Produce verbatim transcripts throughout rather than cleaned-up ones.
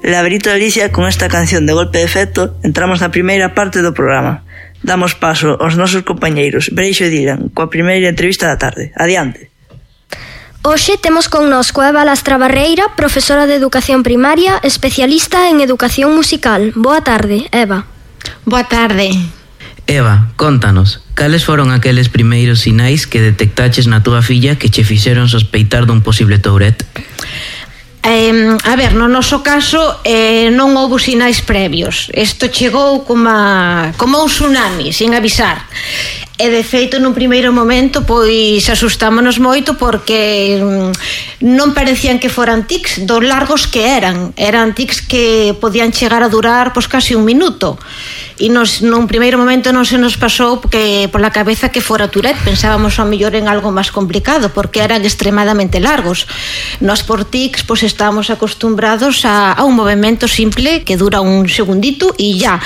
Laberito de Alicia, con esta canción de golpe de efecto, entramos na primeira parte do programa. Damos paso aos nosos compañeiros Breixo e Dylan coa primeira entrevista da tarde. Adiante. Hoxe temos connosco a Eva Lastra Barreira, profesora de educación primaria, especialista en educación musical. Boa tarde, Eva. Boa tarde. Eva, contanos, cales foron aqueles primeiros sinais que detectaches na túa filla que che fixeron sospeitar dun posible Tourette? Eh, a ver, no noso caso eh, non houbo sinais previos. Isto chegou como, a, como un tsunami, sin avisar. E de feito, nun primeiro momento, pois asustámonos moito porque non parecían que foran tics dos largos que eran. Eran tics que podían chegar a durar pois casi un minuto. E nos, nun primeiro momento non se nos pasou que pola cabeza que fora Tourette. Pensábamos ao mellor en algo máis complicado porque eran extremadamente largos. Nos por tics pois estábamos acostumbrados a, a un movimento simple que dura un segundito e ya.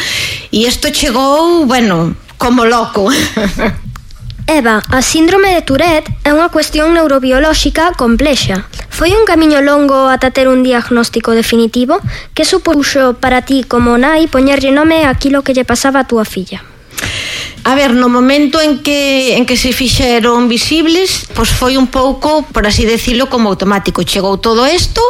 E isto chegou, bueno, como loco. Eva, a síndrome de Tourette é unha cuestión neurobiolóxica complexa. Foi un camiño longo ata ter un diagnóstico definitivo? Que supuxo para ti como nai poñerlle nome aquilo que lle pasaba a túa filla? A ver, no momento en que en que se fixeron visibles, pois foi un pouco, por así decirlo, como automático. Chegou todo isto,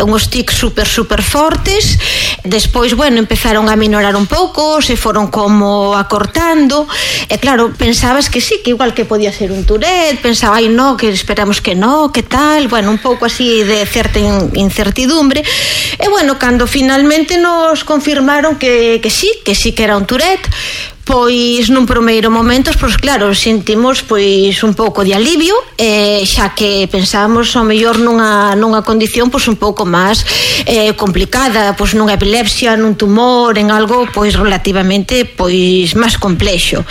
uns tics super, super fortes. Despois, bueno, empezaron a minorar un pouco, se foron como acortando. E claro, pensabas que sí, que igual que podía ser un Tourette, pensaba, ai, no, que esperamos que no, que tal. Bueno, un pouco así de certa incertidumbre. E bueno, cando finalmente nos confirmaron que, que sí, que sí que era un Tourette, pois nun primeiro momento, pois claro, sentimos pois un pouco de alivio, eh, xa que pensábamos ao mellor nunha, nunha condición pois un pouco máis eh, complicada, pois nunha epilepsia, nun tumor, en algo pois relativamente pois máis complexo.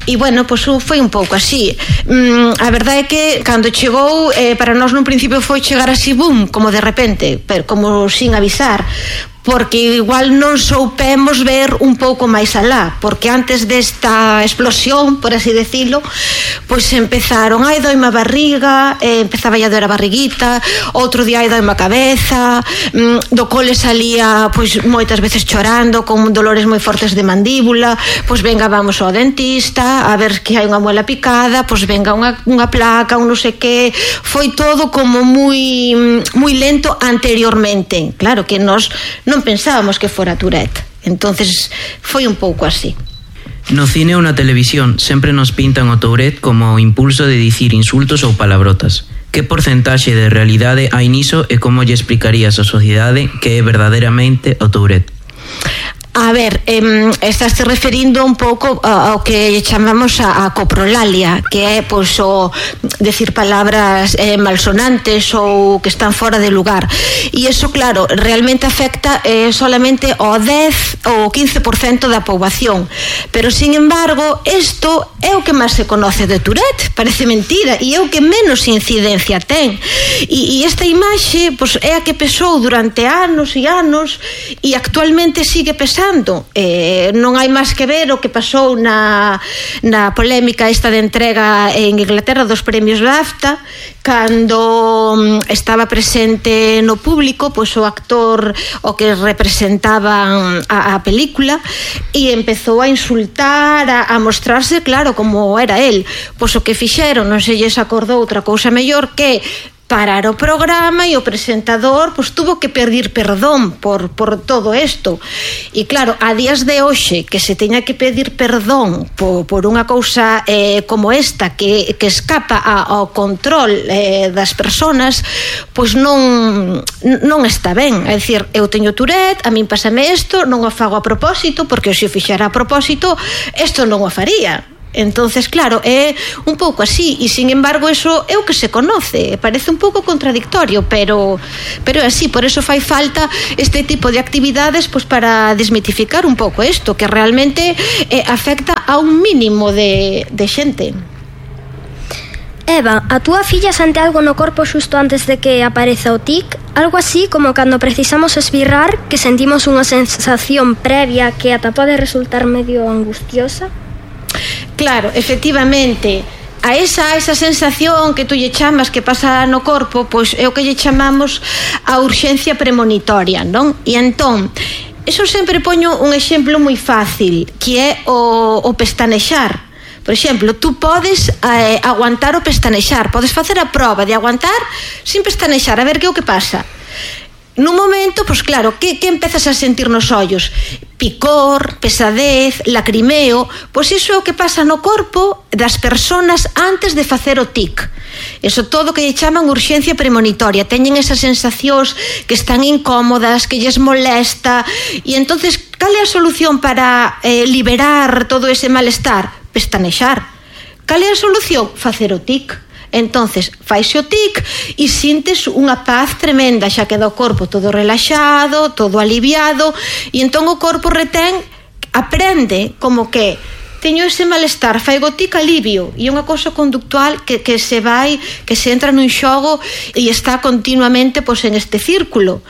E bueno, pois foi un pouco así. Mm, a verdade é que cando chegou, eh, para nós nun principio foi chegar así, boom, como de repente, pero como sin avisar, porque igual non soupemos ver un pouco máis alá, porque antes desta explosión, por así decirlo, pois empezaron, ai, doime a barriga, eh, empezaba a doer a barriguita, outro día, ai, doime a cabeza, mm, do cole salía pois moitas veces chorando, con dolores moi fortes de mandíbula, pois venga, vamos ao dentista, a ver que hai unha muela picada, pois venga unha, unha placa, un non sei que. Foi todo como moi, moi lento anteriormente. Claro que nós non pensábamos que fora Tourette. Entonces foi un pouco así. No cine ou na televisión sempre nos pintan o Tourette como o impulso de dicir insultos ou palabrotas. Que porcentaxe de realidade hai niso e como lle explicarías á sociedade que é verdadeiramente o Tourette? A ver, eh, estás te referindo un pouco ao que chamamos a, a coprolalia, que é pois o decir palabras eh, malsonantes ou que están fora de lugar. E iso, claro, realmente afecta eh, solamente ao dez ou quince por cento da poboación. Pero, sin embargo, isto é o que máis se conoce de Tourette, parece mentira, e é o que menos incidencia ten. E, e esta imaxe pois, é a que pesou durante anos e anos e actualmente sigue pesando. Eh, non hai máis que ver o que pasou na, na polémica esta de entrega en Inglaterra dos premios BAFTA, cando estaba presente no público pois o actor o que representaba a, a película e empezou a insultar, a, a mostrarse claro como era el. Pois o que fixeron, non se lles acordou outra cousa mellor que parar o programa e o presentador pois tuvo que pedir perdón por, por todo isto. E claro, a días de hoxe que se teña que pedir perdón por, por unha cousa eh, como esta que, que escapa a, ao control eh, das persoas, pois non non está ben. É dicir, eu teño Tourette, a min pásame isto, non o fago a propósito, porque se o fixera a propósito isto non o faría. Entonces, claro, é un pouco así e, sin embargo, eso é o que se conoce. Parece un pouco contradictorio, pero pero é así. Por eso fai falta este tipo de actividades pois para desmitificar un pouco isto, que realmente eh, afecta a un mínimo de, de xente. Eva, a túa filla sente algo no corpo xusto antes de que apareza o tic? Algo así como cando precisamos esbirrar, que sentimos unha sensación previa que ata pode resultar medio angustiosa? Claro, efectivamente, a esa, esa sensación que tú lle chamas que pasa no corpo, pois é o que lle chamamos a urxencia premonitoria, non? E entón, eso sempre poño un exemplo moi fácil, que é o, o pestanexar. Por exemplo, tú podes eh, aguantar o pestanexar, podes facer a proba de aguantar sin pestanexar, a ver que é o que pasa. Nun momento, pois claro, que, que empezas a sentir nos ollos? Picor, pesadez, lacrimeo. Pois iso é o que pasa no corpo das persoas antes de facer o tic. Eso todo que lle chaman urxencia premonitoria. Teñen esas sensacións que están incómodas, que lles molesta. E entonces, cal é a solución para eh, liberar todo ese malestar? Pestanexar. Cal é a solución? Facer o tic. Entonces, faise o tic e sintes unha paz tremenda, xa queda o corpo todo relaxado, todo aliviado, e entón o corpo retén, aprende como que teño ese malestar, faigo tic, alivio, e é unha cousa conductual que, que se vai, que se entra nun xogo e está continuamente pois, en este círculo.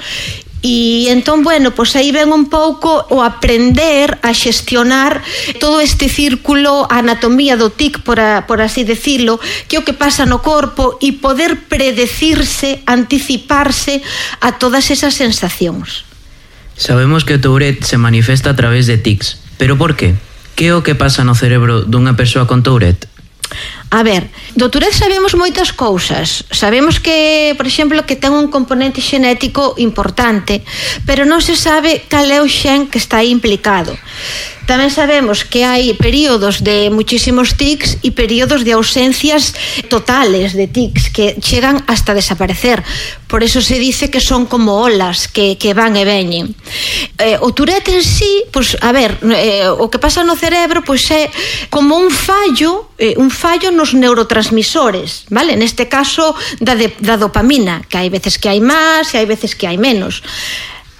E entón, bueno, pois aí ven un pouco o aprender a xestionar todo este círculo, a anatomía do tic, por, a, por así decirlo, que é o que pasa no corpo e poder predecirse, anticiparse a todas esas sensacións. Sabemos que o Tourette se manifesta a través de tics, pero por qué? Que é o que pasa no cerebro dunha persoa con Tourette? A ver, do Tourette sabemos moitas cousas. Sabemos que, por exemplo, que ten un componente xenético importante, pero non se sabe cal é o xen que está aí implicado. Tamén sabemos que hai períodos de muchísimos tics e períodos de ausencias totales de tics que chegan hasta desaparecer. Por eso se dice que son como olas que, que van e veñen. Eh, o Tourette en sí, pues, a ver, eh, o que pasa no cerebro pues, é como un fallo, eh, un fallo nos neurotransmisores, vale? Neste caso da, de, da dopamina, que hai veces que hai máis e hai veces que hai menos.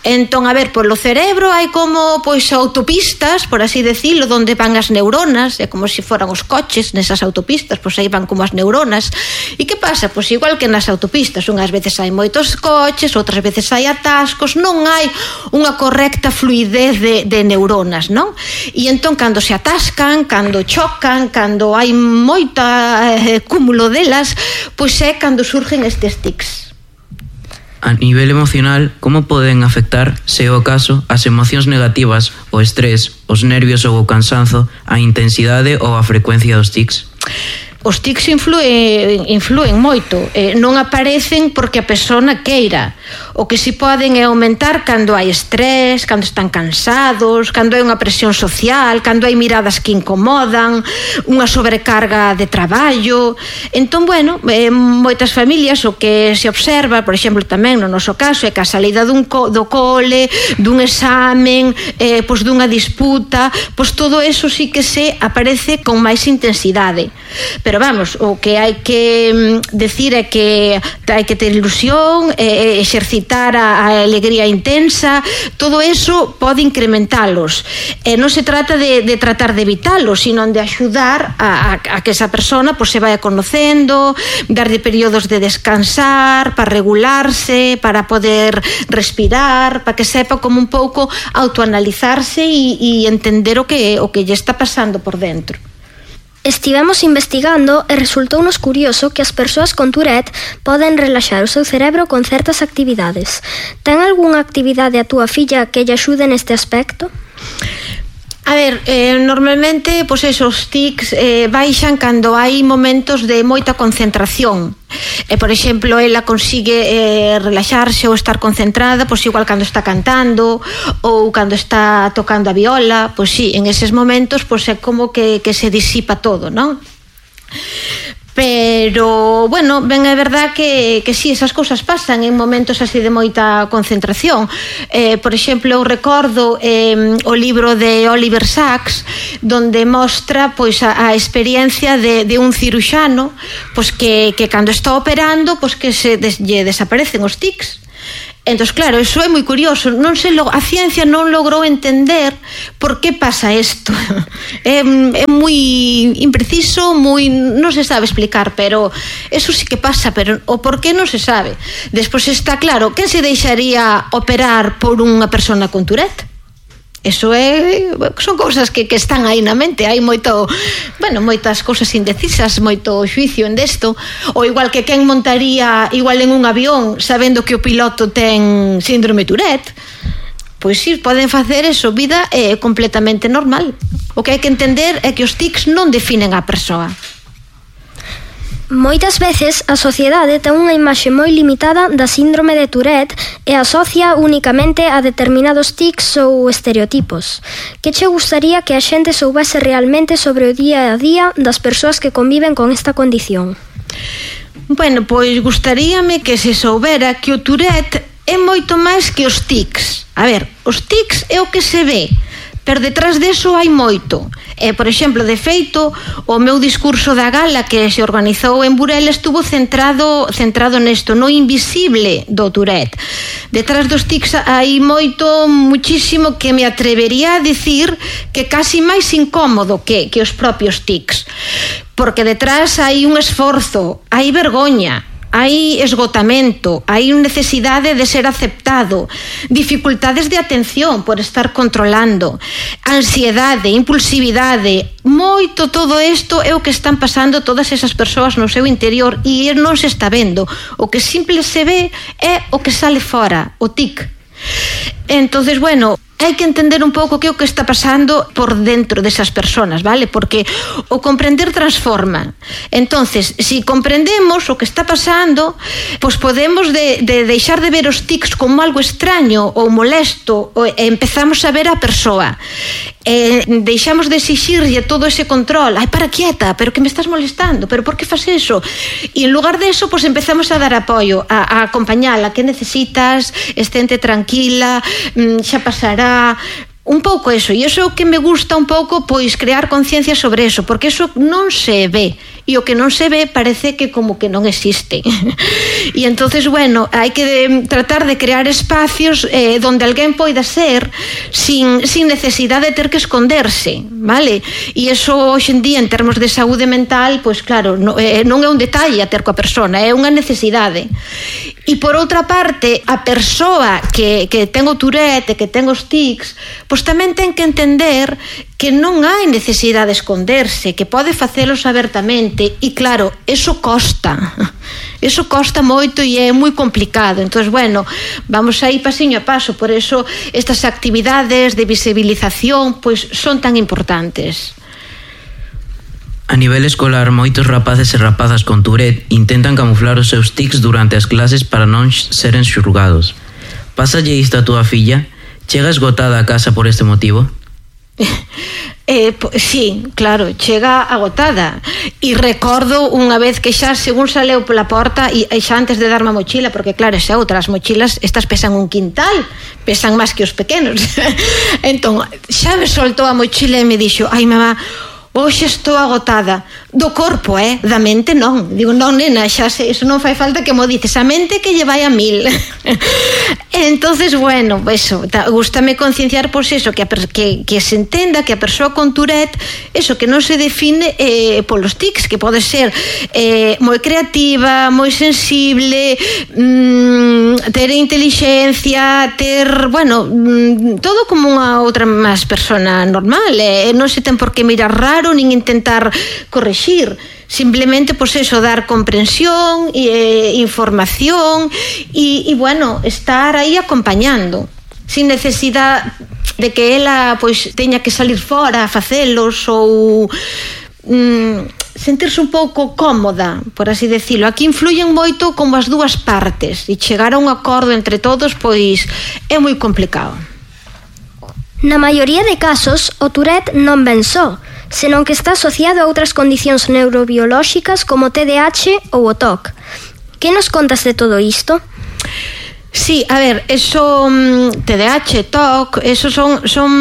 Entón, a ver, polo cerebro hai como, pois, autopistas, por así decirlo, donde van as neuronas, é como se foran os coches nesas autopistas, pois aí van como as neuronas. E que pasa? Pois igual que nas autopistas, unhas veces hai moitos coches, outras veces hai atascos, non hai unha correcta fluidez de, de neuronas, non? E entón, cando se atascan, cando chocan, cando hai moita eh, cúmulo delas, pois é cando surgen estes tics. A nivel emocional, como poden afectar, se é o caso, as emocións negativas, o estrés, os nervios ou o cansanzo, a intensidade ou a frecuencia dos tics? Os tics influen, influen moito, eh, non aparecen porque a persona queira. O que si poden é aumentar cando hai estrés, cando están cansados, cando hai unha presión social, cando hai miradas que incomodan, unha sobrecarga de traballo. Entón, bueno, eh, moitas familias o que se observa, por exemplo, tamén no noso caso, é que a salida dun co, do cole, dun examen, eh, pois dunha disputa, pois todo eso sí que se aparece con máis intensidade. Pero vamos, o que hai que decir é que hai que ter ilusión, eh, exercitar a, a alegría intensa, todo eso pode incrementalos. Eh, non se trata de, de tratar de evitalos, sino de axudar a, a, a que esa persona pues, se vaya conocendo, darlle períodos de descansar, para regularse, para poder respirar, para que sepa como un pouco autoanalizarse e, e entender o que, o que lle está pasando por dentro. Estivemos investigando e resultounos curioso que as persoas con Tourette poden relaxar o seu cerebro con certas actividades. Ten algunha actividade a túa filla que lle axude neste aspecto? A ver, eh, normalmente pois esos tics eh, baixan cando hai momentos de moita concentración. E, por exemplo, ela consigue eh, relaxarse ou estar concentrada, pois igual cando está cantando ou cando está tocando a viola, pois sí, en eses momentos pois é como que, que se disipa todo, non? Pero, bueno, ben é verdad que, que sí, esas cousas pasan en momentos así de moita concentración. Eh, por exemplo, eu recordo eh, o libro de Oliver Sacks, donde mostra pois, a, a experiencia de, de un ciruxano pois, que, que cando está operando pois, que se des, lle desaparecen os tics. Entón, claro, eso é moi curioso. Non se lo, a ciencia non logrou entender por que pasa isto. É, é moi impreciso, moi, non se sabe explicar, pero eso sí que pasa, pero o por que non se sabe. Despois está claro, quen se deixaría operar por unha persona con Tourette? Eso é, son cousas que, que están aí na mente, hai moito, bueno, moitas cousas indecisas, moito xuicio en desto, ou igual que quen montaría igual en un avión sabendo que o piloto ten síndrome Tourette. Pois si, poden facer eso, vida é completamente normal. O que hai que entender é que os tics non definen a persoa. Moitas veces a sociedade ten unha imaxe moi limitada da síndrome de Tourette e asocia únicamente a determinados tics ou estereotipos. Que che gustaría que a xente soubese realmente sobre o día a día das persoas que conviven con esta condición? Bueno, pois gustaríame que se soubera que o Tourette é moito máis que os tics. A ver, os tics é o que se ve, pero detrás deso hai moito. E, por exemplo, de feito, o meu discurso da gala que se organizou en Burela estuvo centrado centrado nesto, no invisible do Tourette. Detrás dos tics hai moito, muchísimo, que me atrevería a dicir que casi máis incómodo que, que os propios tics. Porque detrás hai un esforzo, hai vergoña, hai esgotamento, hai necesidade de ser aceptado, dificultades de atención por estar controlando, ansiedade, impulsividade, moito todo isto é o que están pasando todas esas persoas no seu interior e non se está vendo. O que simple se ve é o que sale fora, o tic. Entonces, bueno, hai que entender un pouco que é o que está pasando por dentro desas personas, vale? Porque o comprender transforma. Entonces, si comprendemos o que está pasando, pois podemos de, de deixar de ver os tics como algo extraño ou molesto e empezamos a ver a persoa. E deixamos de exixirlle todo ese control. Ai, para quieta, pero que me estás molestando, pero por que faz eso? E en lugar de eso, pois empezamos a dar apoio, a, a acompañala, que necesitas, estente tranquila, xa pasará, un pouco eso, e iso que me gusta un pouco, pois crear conciencia sobre eso, porque eso non se ve, e o que non se ve parece que como que non existe. E entonces, bueno, hai que tratar de crear espacios eh, donde alguén poida ser sin, sin necesidade de ter que esconderse, vale? E iso hoxe en día, en termos de saúde mental, pois claro, non, eh, non é un detalle a ter coa persona, é unha necesidade. E por outra parte, a persoa que, que ten o Tourette, que ten os tics, pois tamén ten que entender que non hai necesidade de esconderse, que pode facelos abertamente, e claro, eso costa, eso costa moito e é moi complicado. Entón, bueno, vamos a ir pasiño a paso, por eso estas actividades de visibilización pois son tan importantes. A nivel escolar, moitos rapaces e rapazas con Tourette intentan camuflar os seus tics durante as clases para non seren xulgados. Pásalle isto a túa filla? Chega esgotada a casa por este motivo? Eh, sí, claro, chega agotada. E recordo unha vez que xa según saleu pola porta e xa antes de darme a mochila, porque claro, xa outras mochilas, estas pesan un quintal, pesan máis que os pequenos. Entón, xa me soltou a mochila e me dixo: ai, mamá, hoxe estou agotada. Do corpo, eh? Da mente non. Digo, non, nena, xa sei, iso non fai falta que mo dices, a mente que lle vai a mil. Entonces, bueno, eso, gústame concienciar, pois eso, que, a, que, que se entenda que a persoa con Tourette, eso, que non se define eh, polos tics, que pode ser eh, moi creativa, moi sensible, mmm, ter intelixencia, ter, bueno, mmm, todo como unha outra máis persona normal, eh? Non se ten por que mirar raro, nin intentar correxir. Simplemente, pois eso, dar comprensión e eh, información e, e, bueno, estar aí acompañando sin necesidade de que ela, pois, teña que salir fora a facelos ou mm, sentirse un pouco cómoda, por así decirlo. Aquí influyen moito como as dúas partes e chegar a un acordo entre todos, pois, é moi complicado. Na maioría de casos, o Tourette non ven só, senón que está asociado a outras condicións neurobiolóxicas como o T D A H ou o T O C. Que nos contas de todo isto? Sí, a ver, eso T D A H, T O C, eso son, son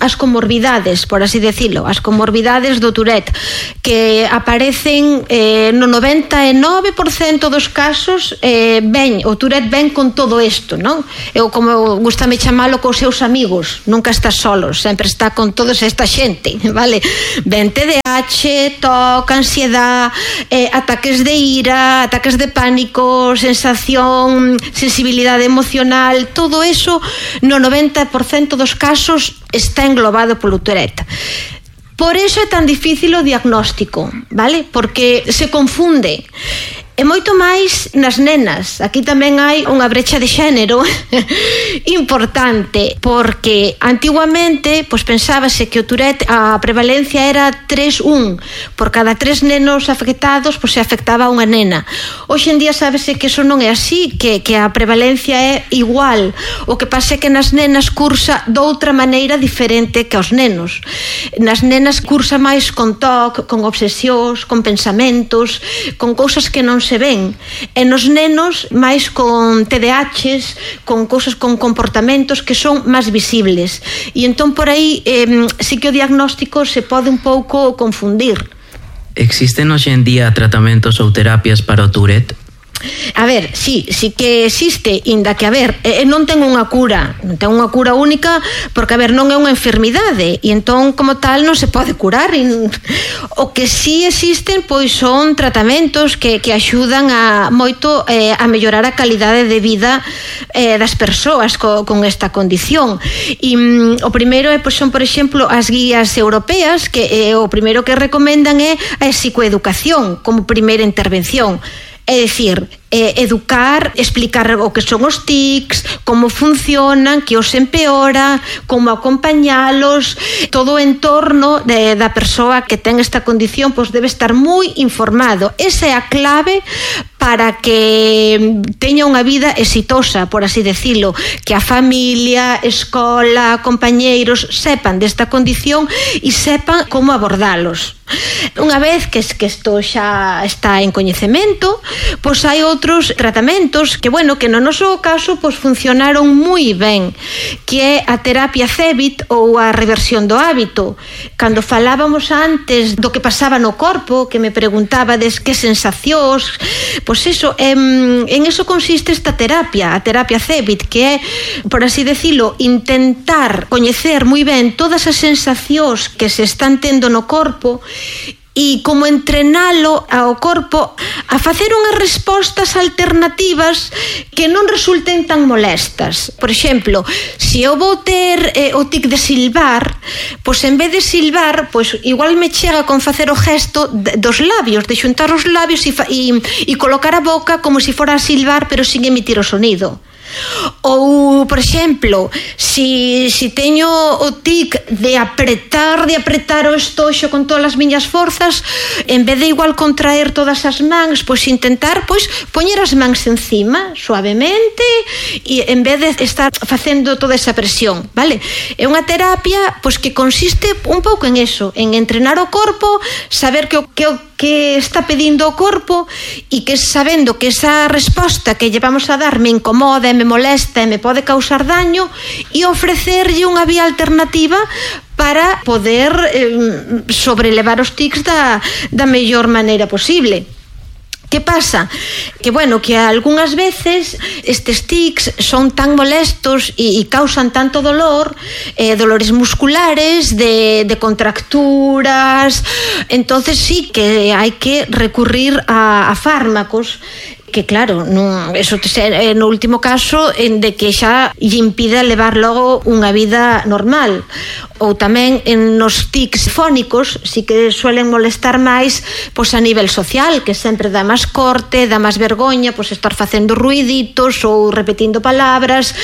as comorbidades, por así decirlo, as comorbidades do Tourette, que aparecen eh, no noventa e nove por cento dos casos, eh, ven, o Tourette ven con todo isto, non? Eu, como gustame chamalo, cos seus amigos, nunca está solos, sempre está con toda esta xente, vale? Ven T D A H, T O C, ansiedade, eh, ataques de ira, ataques de pánico, sensación, sensibilidade estabilidade emocional, todo eso no noventa por cento dos casos está englobado polo Tourette. Por eso é tan difícil o diagnóstico, vale? Porque se confunde. E moito máis nas nenas. Aquí tamén hai unha brecha de xénero importante, porque antiguamente pois pensábase que o Tourette a prevalencia era tres un, por cada tres nenos afectados pois se afectaba a unha nena. Hoxe en día sábese que eso non é así, que, que a prevalencia é igual. O que pasa é que nas nenas cursa doutra maneira diferente que aos nenos. Nas nenas cursa máis con toc, con obsesións, con pensamentos, con cousas que non se ven, e nos nenos máis con T D A Hs, con cousas, con comportamentos que son máis visibles, e entón por aí eh, sí que o diagnóstico se pode un pouco confundir. Existen hoxe en día tratamentos ou terapias para o Tourette? A ver, sí, sí que existe, inda que, a ver, eh, non ten unha cura, non ten unha cura única, porque, a ver, non é unha enfermidade, e entón, como tal, non se pode curar. E, o que sí existen, pois, son tratamentos que, que axudan a moito eh, a mellorar a calidade de vida eh, das persoas co, con esta condición. E mm, o primeiro é, pois, son, por exemplo, as guías europeas, que eh, o primeiro que recomendan é a psicoeducación como primeira intervención. É dicir, eh, educar, explicar o que son os tics, como funcionan, que os empeora, como acompañalos, todo o entorno de, da persoa que ten esta condición, pois debe estar moi informado. Esa é a clave para que teña unha vida exitosa, por así decirlo, que a familia, escola, compañeiros sepan desta condición e sepan como abordalos. Unha vez que, que isto xa está en coñecemento, pois hai outros tratamentos que, bueno, que no noso caso pois funcionaron moi ben, que é a terapia C E B I T ou a reversión do hábito. Cando falábamos antes do que pasaba no corpo, que me preguntabades que sensacións, pois eso, en, en eso consiste esta terapia, a terapia C E B I T, que é, por así decirlo, intentar coñecer moi ben todas as sensacións que se están tendo no corpo e como entrenalo ao corpo a facer unhas respostas alternativas que non resulten tan molestas. Por exemplo, se eu vou ter eh, o tic de silbar, pois en vez de silbar, pois igual me chega con facer o gesto de, dos labios, de xuntar os labios e, e, e colocar a boca como se fora a silbar, pero sin emitir o sonido. Ou, por exemplo, si, si teño o tic de apretar, de apretar o estoxo con todas as miñas forzas, en vez de igual contraer todas as mans, pois intentar pois poñer as mans encima, suavemente, e en vez de estar facendo toda esa presión, vale? É unha terapia pois que consiste un pouco en eso, en entrenar o corpo, saber que o que o que está pedindo o corpo e que sabendo que esa resposta que llevamos a dar me incomoda, me molesta e me pode causar daño, e ofrecerlle unha vía alternativa para poder eh, sobrelevar os tics da, da mellor maneira posible. Que pasa? Que, bueno, que algunhas veces estes tics son tan molestos e, e causan tanto dolor, eh, dolores musculares, de, de contracturas, entonces sí que hai que recurrir a, a fármacos que, claro, non, eso é no último caso en de que xa lle impide levar logo unha vida normal. Ou tamén en nos tics fónicos sí que suelen molestar máis pois a nivel social, que sempre dá máis corte, dá máis vergoña pois estar facendo ruiditos ou repetindo palabras.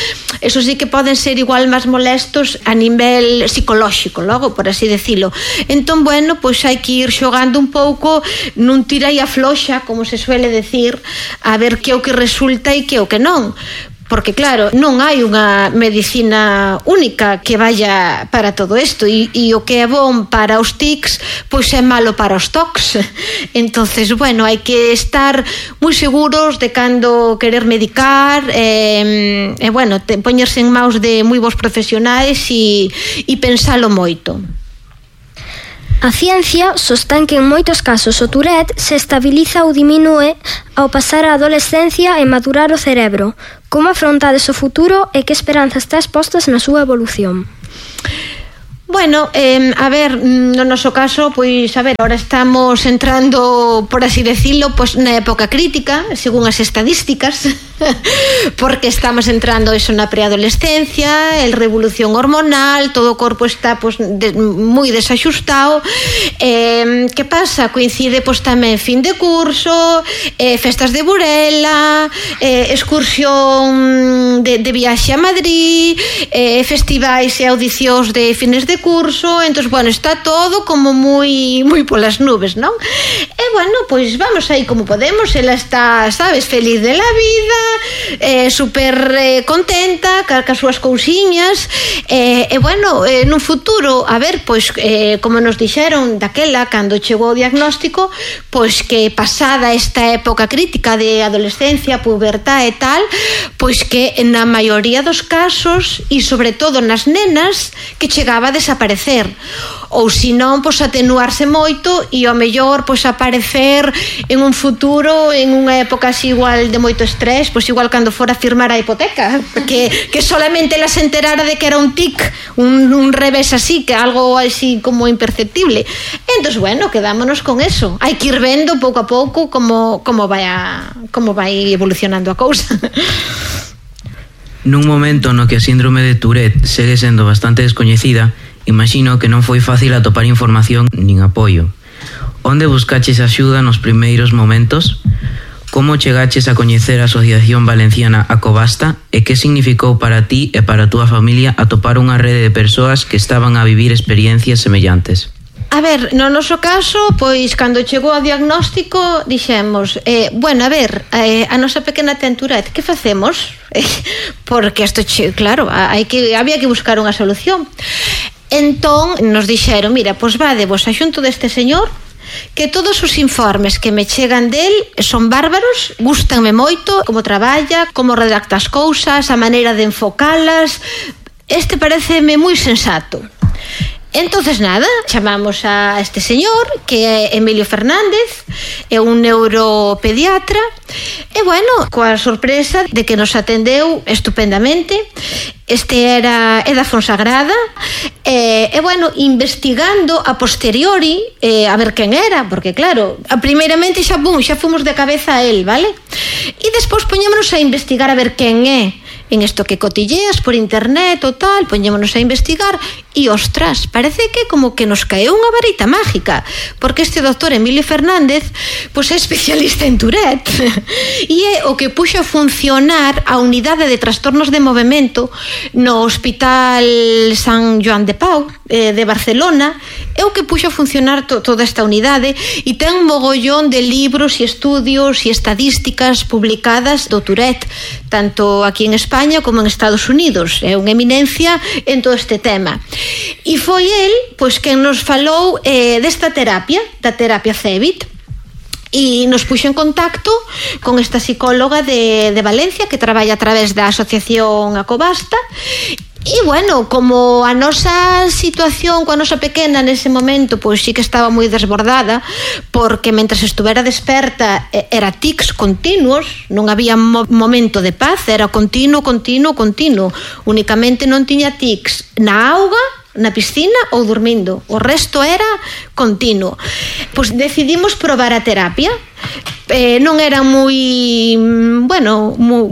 Eso sí que poden ser igual máis molestos a nivel psicolóxico, logo, por así decirlo. Entón, bueno, pois hai que ir xogando un pouco nun tira e afloxa, como se suele decir, a ver que é o que resulta e que é o que non. Porque, claro, non hai unha medicina única que vaya para todo isto, e, e o que é bom para os tics pois é malo para os tocs. Entonces, bueno, hai que estar moi seguros de cando querer medicar e, e bueno, te, poñerse en maus de moi bons profesionais e, e pensalo moito. A ciencia sostén que en moitos casos o Tourette se estabiliza ou diminúe ao pasar a adolescencia e madurar o cerebro. Como afrontades o futuro e que esperanzas tes postas na súa evolución? Bueno, eh, a ver, no noso caso, pois, a ver, ahora estamos entrando, por así decirlo, pois, na época crítica, según as estadísticas, porque estamos entrando eso na preadolescencia, el revolución hormonal, todo o corpo está pois, de, moi desaxustado. Eh, que pasa? Coincide pois, tamén fin de curso, eh, festas de Burela, eh, excursión de, de viaxe a Madrid, eh, festivais e audicións de fines de curso, entón, bueno, está todo como moi moi polas nubes, non? E, bueno, pois vamos aí como podemos, ela está, sabes, feliz de la vida, eh, super eh, contenta, ca, ca súas cousiñas, eh, e, bueno, eh, nun futuro, a ver, pois, eh, como nos dixeron daquela, cando chegou o diagnóstico, pois que pasada esta época crítica de adolescencia, pubertad e tal, pois que na maioría dos casos, e sobre todo nas nenas, que chegaba a desaparecer, ou se non, pois atenuarse moito e ao mellor pois aparecer en un futuro, en unha época así igual de moito estrés, pois igual cando fora a firmar a hipoteca, que, que solamente ela se enterara de que era un tic, un, un revés así, que algo así como imperceptible. Entón, bueno, quedámonos con eso, hai que ir vendo pouco a pouco como, como vai a, como vai evolucionando a cousa. Nun momento no que a síndrome de Tourette segue sendo bastante descoñecida, imagino que non foi fácil atopar información nin apoio. Onde buscaches axuda nos primeiros momentos? Como chegaches a coñecer a Asociación Valenciana Acobasta e que significou para ti e para a túa familia atopar unha rede de persoas que estaban a vivir experiencias semellantes? A ver, no noso caso, pois, cando chegou o diagnóstico, dixemos, eh, bueno, a ver, eh, a nosa pequena ten Tourette, que facemos? Porque isto, claro, hai que, había que buscar unha solución. Entón, nos dixeron, mira, pois vade vos a xunto deste señor, que todos os informes que me chegan del son bárbaros, gústanme moito, como traballa, como redacta as cousas, a maneira de enfocalas, este pareceme moi sensato. Entonces nada, chamamos a este señor, que é Emilio Fernández, é un neuropediatra, e bueno, coa sorpresa de que nos atendeu estupendamente. Este era é da Fonsagrada, e, e bueno, investigando a posteriori, eh, a ver quen era, porque claro, a primeiramente xa, bum, xa fomos de cabeza a él, vale? E despois poñémonos a investigar a ver quen é, en isto que cotilleas por internet ou tal, poñémonos a investigar e, ostras, parece que como que nos caeu unha varita mágica, porque este doctor Emilio Fernández pois é especialista en Tourette e é o que puxo a funcionar a unidade de trastornos de movimento no Hospital San Joan de Pau eh, de Barcelona, é o que puxo a funcionar to, toda esta unidade, e ten un mogollón de libros e estudios e estadísticas publicadas do Tourette, tanto aquí en España como en Estados Unidos. É unha eminencia en todo este tema. E foi el, pois, quen nos falou eh, desta terapia, da terapia Cebit, e nos puxo en contacto con esta psicóloga de, de Valencia que traballa a través da Asociación Acobasta. E, bueno, como a nosa situación coa nosa pequena nese momento pois sí que estaba moi desbordada, porque mentres estuvera desperta era tics continuos, non había mo- momento de paz, era continuo, continuo, continuo, únicamente non tiña tics na auga, na piscina ou dormindo, o resto era continuo. Pois decidimos probar a terapia. Eh, non era moi, bueno, moi,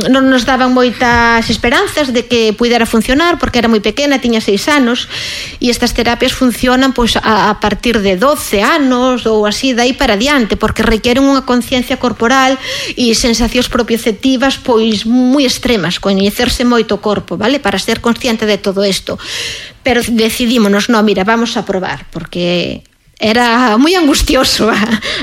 non nos daban moitas esperanzas de que pudera funcionar, porque era moi pequena, tiña seis anos, e estas terapias funcionan pois a, a partir de doce anos ou así, dai para diante, porque requieren unha conciencia corporal e sensacións propioceptivas pois moi extremas, coñecerse moito o corpo, vale, para ser consciente de todo isto. Pero decidímonos, no, mira, vamos a probar, porque era moi angustioso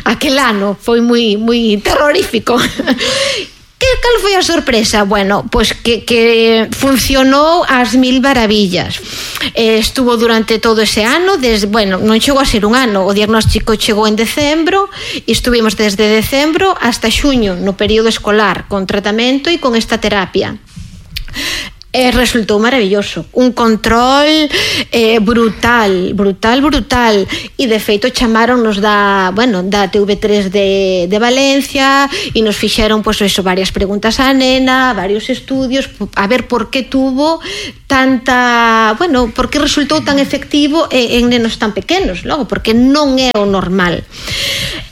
aquel ano, foi moi moi terrorífico. Que cal foi a sorpresa? Bueno, pois que, que funcionou ás mil maravillas. Eh, estuvo durante todo ese ano, desde, bueno, non chegou a ser un ano, o diagnóstico chegou en decembro e estuvimos desde decembro hasta xuño no período escolar con tratamento e con esta terapia. E resultou maravilloso, un control eh, brutal, brutal, brutal, e de feito chamaronnos da, bueno, da T V tres de, de Valencia e nos fixeron, pois, eso, varias preguntas á nena, varios estudios, a ver por que tuvo tanta, bueno, por que resultou tan efectivo en, en nenos tan pequenos, logo, porque non é o normal.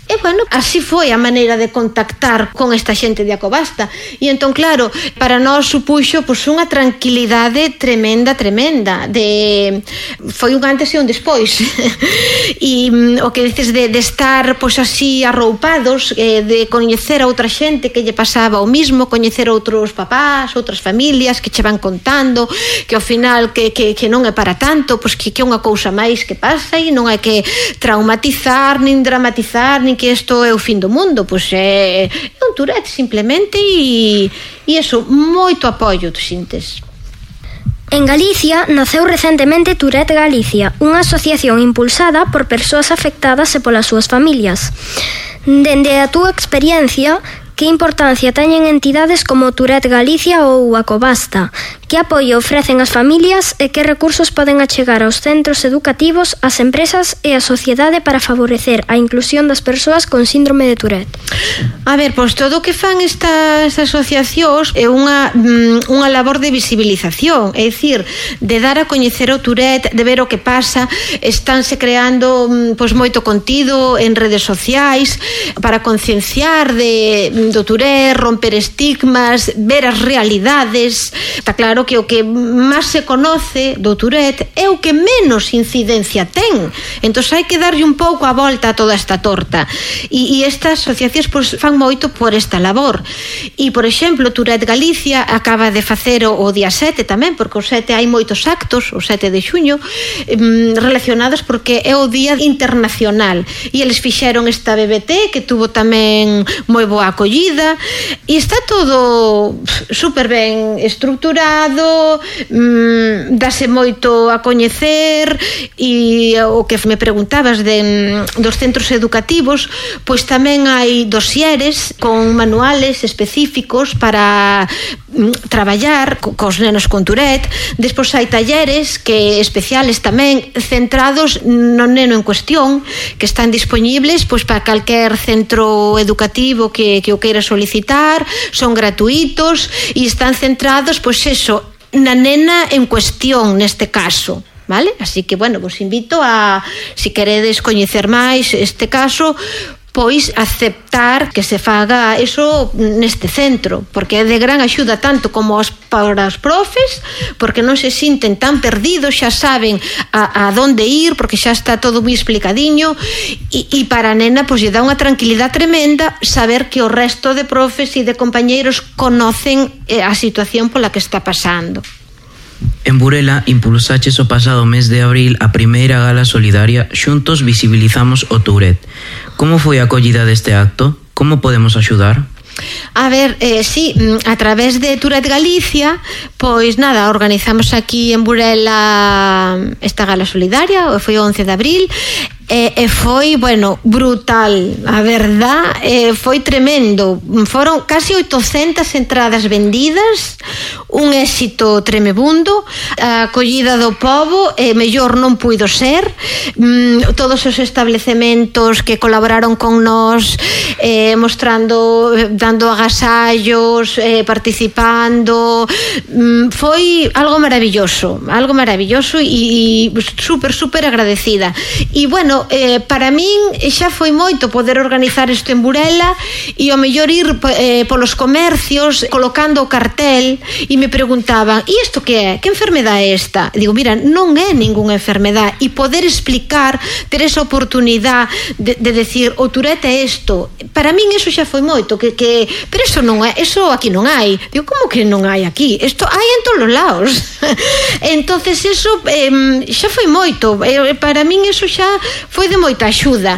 E, bueno, así foi a maneira de contactar con esta xente de Acobasta. E entón, claro, para nós supuxo pois, unha tranquilidade tremenda, tremenda. De... Foi un antes e un despois. E o que dices de, de estar pois, así arroupados, eh, de coñecer a outra xente que lle pasaba o mismo, coñecer outros papás, outras familias que che van contando, que ao final que, que, que non é para tanto, pois que, que é unha cousa máis que pasa e non hai que traumatizar, nin dramatizar, nin que isto é o fin do mundo, pois é, é un Tourette simplemente e, e eso, moito apoio, tu sintes. En Galicia naceu recentemente Tourette Galicia, unha asociación impulsada por persoas afectadas e polas súas familias. Dende a túa experiencia, que importancia teñen entidades como Tourette Galicia ou Acobasta? Que apoio ofrecen as familias e que recursos poden achegar aos centros educativos, ás empresas e á sociedade para favorecer a inclusión das persoas con síndrome de Tourette? A ver, pois todo o que fan estas asociacións é unha, unha labor de visibilización, é dicir, de dar a coñecer o Tourette, de ver o que pasa, estánse creando pois moito contido en redes sociais para concienciar de, do Tourette, romper estigmas, ver as realidades. Está claro que o que máis se conoce do Tourette é o que menos incidencia ten, entón hai que darlle un pouco a volta a toda esta torta e, e estas asociacións pois, fan moito por esta labor. E, por exemplo, Tourette Galicia acaba de facer o, o día sete tamén, porque o sete hai moitos actos, o sete de xuño, eh, relacionados porque é o día internacional e eles fixeron esta B B T que tuvo tamén moi boa acollida e está todo super ben estructurado, mmm, dase moito a coñecer e o que me preguntabas de, dos centros educativos, pois tamén hai dosieres con manuales específicos para mm, traballar co, cos nenos con Tourette. Despois hai talleres que especiales tamén centrados no neno en cuestión que están dispoñibles pois para calquer centro educativo que, que o queira solicitar, son gratuitos e están centrados pois eso na nena en cuestión neste caso, vale? Así que, bueno, vos invito a, si queredes coñecer máis este caso, pois aceptar que se faga eso neste centro, porque é de gran axuda tanto como os, para os profes, porque non se sinten tan perdidos, xa saben a, a donde ir, porque xa está todo moi explicadiño, e, e para a nena pois lle dá unha tranquilidade tremenda saber que o resto de profes e de compañeiros conocen a situación pola que está pasando. En Burela impulsaches o pasado mes de abril a primeira gala solidaria Xuntos visibilizamos o Tourette. Como foi a acollida deste acto? Como podemos axudar? A ver, eh, sí, a través de Tourette Galicia, pois nada, organizamos aquí en Burela esta gala solidaria, foi o once de abril, e, e foi, bueno, brutal, a verdad, eh, foi tremendo. Foron casi oitocentas entradas vendidas, un éxito tremebundo, a acollida do pobo, eh, mellor non puido ser, mm, todos os establecementos que colaboraron con nós, eh, mostrando, dando agasallos, eh, participando, mm, foi algo maravilloso, algo maravilloso e, e super, super agradecida. E, bueno, Eh, para min xa foi moito poder organizar isto en Burela e ao mellor ir eh, polos comercios colocando o cartel e me preguntaban, e isto que é? Que enfermedade é esta? E digo, mira, non é ningunha enfermedade, e poder explicar, ter esa oportunidade de, de decir, o Tourette é isto, para min eso xa foi moito, que, que pero eso non é, eso aquí non hai. Digo, como que non hai aquí? Isto hai en todos os lados. Entonces eso eh, xa foi moito, eh, para min eso xa foi de moita axuda.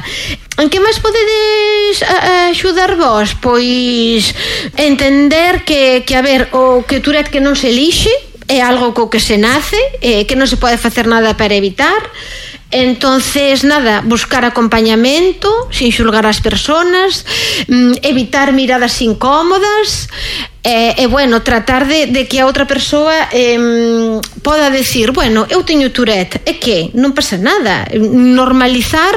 En que máis podedes axudar vos? Pois entender que, que a ver, o que Tourette que non se elixe, é algo co que se nace, eh, que non se pode facer nada para evitar. Entonces, nada, buscar acompañamento sin xulgar as persoas, evitar miradas incómodas, E, e bueno, tratar de, de que a outra persoa eh, poda decir, bueno, eu teño Tourette, e que? Non pasa nada. Normalizar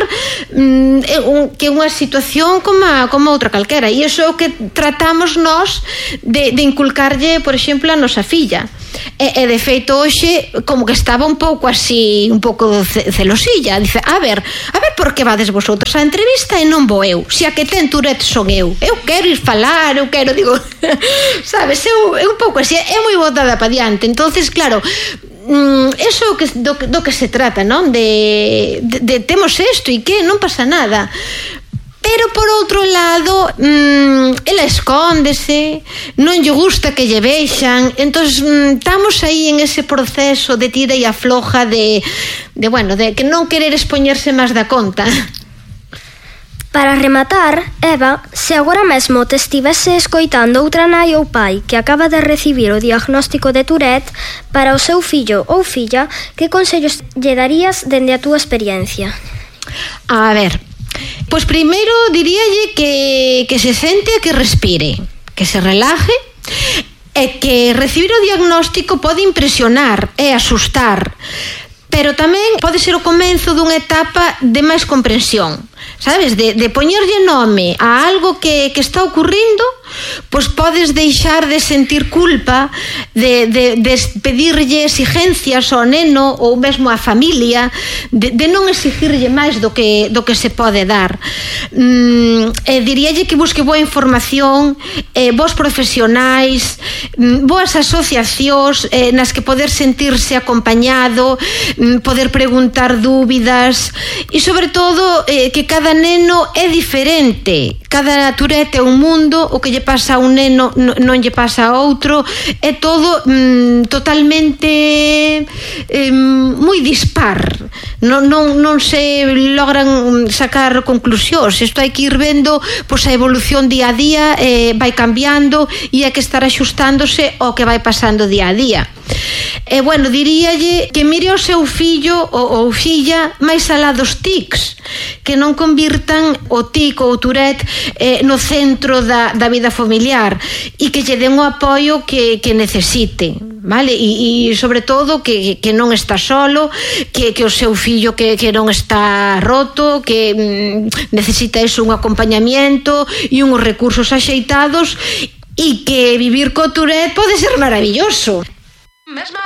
mm, que é unha situación como, a, como outra calquera, e iso é o que tratamos nós de, de inculcarlle, por exemplo, a nosa filla. E, e de feito hoxe como que estaba un pouco así, un pouco celosilla, dice, a ver, a ver por que vades vosotros á entrevista e non vou eu, se a que ten Tourette son eu, eu quero ir falar, eu quero, digo, sabes, eu, é un pouco así, é moi botada pa diante. Entonces, claro, eso é que, do, do que se trata, non? De, de, de temos isto e que non pasa nada. Pero por outro lado, mmm, ela escóndese, non lle gusta que lle vexan, entón mmm, estamos aí en ese proceso de tira e afloja de, de, bueno, de que non querer expoñerse máis da conta. Para rematar, Eva, se agora mesmo te estivese escoitando outra nai ou pai que acaba de recibir o diagnóstico de Tourette, para o seu fillo ou filla, que consellos lle darías dende a túa experiencia? A ver, pois primeiro diríalle que, que se sente e que respire, que se relaje, e que recibir o diagnóstico pode impresionar e asustar, pero tamén pode ser o comezo dunha etapa de máis comprensión, sabes, de, de poñerlle nome a algo que, que está ocurrindo, pois podes deixar de sentir culpa, de, de, de pedirlle exigencias ao neno ou mesmo á familia, de, de non exigirlle máis do que, do que se pode dar. Mm, e diríalle que busque boa información, eh, bons profesionais, mm, boas asociacións eh, nas que poder sentirse acompañado, mm, poder preguntar dúbidas, e sobre todo eh, que cada neno é diferente, cada Tourette é un mundo, o que lle pasa a un neno non lle pasa a outro, é todo mm, totalmente eh, moi dispar, non, non, non se logran sacar conclusións. Isto hai que ir vendo, pois a evolución día a día, eh, vai cambiando e hai que estar axustándose ao que vai pasando día a día. E bueno, diríalle que mire o seu fillo ou, ou filla máis alá dos tics, que non convirtan o tic ou o Tourette eh, no centro da, da vida familiar, e que lle den o apoio que, que necesite, vale? E, e sobre todo que, que non está solo, que, que o seu fillo que, que non está roto, que mm, necesita iso, un acompañamiento e uns recursos axeitados, e que vivir co Tourette pode ser maravilloso. Mesma